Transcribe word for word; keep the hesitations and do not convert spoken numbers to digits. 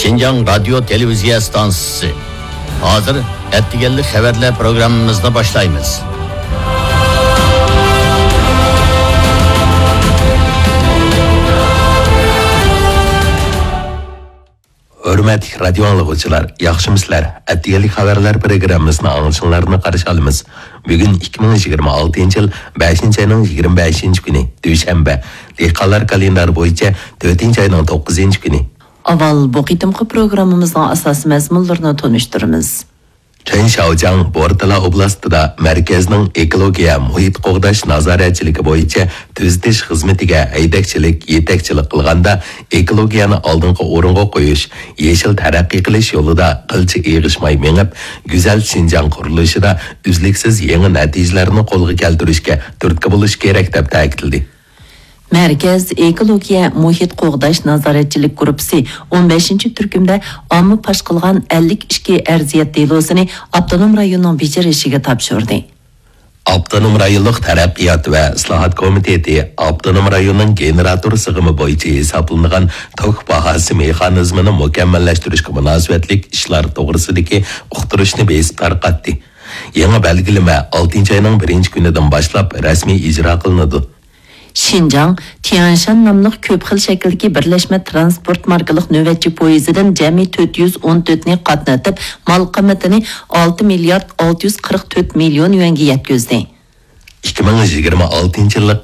شىنجاڭ رادىيو تېلېۋىزىيە ئىستانسىسى. ھازىر ئەتىگەنلىك خەۋەرلەر پروگراممىمىزنى باشلايمىز. ھۆرمەتلىك رادىيو ئاڭلىغۇچىلار، ياخشىمۇسىلەر؟ ئەتىگەنلىك خەۋەرلەر پروگراممىسىنى ئاڭلىشىڭلارنى قارشى ئالىمىز. بۈگۈن ئىككى مىڭ يىگىرمە ئالتىنچى يىل بەشىنچى ئاينىڭ يىگىرمە بەشىنچى كۈنى، دۈشەنبە. دېھقانلار كالېندارى بويىچە تۆتىنچى ئاينىڭ توققۇزىنچى كۈنى. ئاۋۋال بۇ قېتىمقى پروگراممىمىزنىڭ ئاساسىي مەزمۇنلىرىنى تونۇشتۇرىمىز. چېن شياۋجياڭ بورتالا ئوبلاستىدا مەركەزنىڭ ئېكولوگىيە، مۇھىت قوغداش نازارەتچىلىكى بويىچە تۈزىتىش خىزمىتىگە ھەيدەكچىلىك، يېتەكچىلىك قىلغاندا، ئېكولوگىيەنى ئالدىنقى ئورۇنغا قويۇش، يېشىل تەرەققىي قىلىش يولىدا قىلچە ئېغىشماي مېڭىپ، گۈزەل شىنجاڭ قۇرۇلۇشىدا ئۈزلۈكسىز يېڭى نەتىجىلەرنى قولغا كەلتۈرۈشكە تۈرتكە بولۇش كېرەك، دەپ تەكىتلىدى. مەركەز ئېكولوگىيە مۇھىت قوغداش نازارەتچىلىك گۇرۇپپىسى ئون بەشىنچى تۈركۈمدە ئامما پاش قىلغان ئەللىك ئىككى ئەرزىيەت دېلوسىنى ئاپتونوم رايوننىڭ بېجىرىشىگە تاپشۇردى. ئاپتونوم رايونلۇق تەرەققىيات ۋە ئىسلاھات كومىتېتى ئاپتونوم رايوننىڭ گېنېراتور سىغىمى بويىچە ھېسابلىنىدىغان توك باھاسى مېخانىزمىنى مۇكەممەللەشتۈرۈشكە مۇناسىۋەتلىك ئىشلار توغرىسىدىكى ئۇقتۇرۇشنى بېسىپ تارقاتتى. يېڭى بەلگىلىمە ئالتىنچى ئاينىڭ بىرىنچى كۈنىدىن باشلاپ رەسمىي ئىجرا قىلىنىدۇ. شىنجاڭ تيەنشان ناملىق كۆپ خىل شەكىلدىكى بىرلەشمە تىرانسپورت ماركىلىق نۆۋەتچى پويىزىدىن جەمئىي تۆت يۈز ئون تۆتنى قاتنىتىپ، مال قىممىتىنى ئالتە مىليارد ئالتە يۈز قىرىق تۆت مىليون يۈەنگە يەتكۈزدى. ئىككى مىڭ يىگىرمە ئالتىنچى يىللىق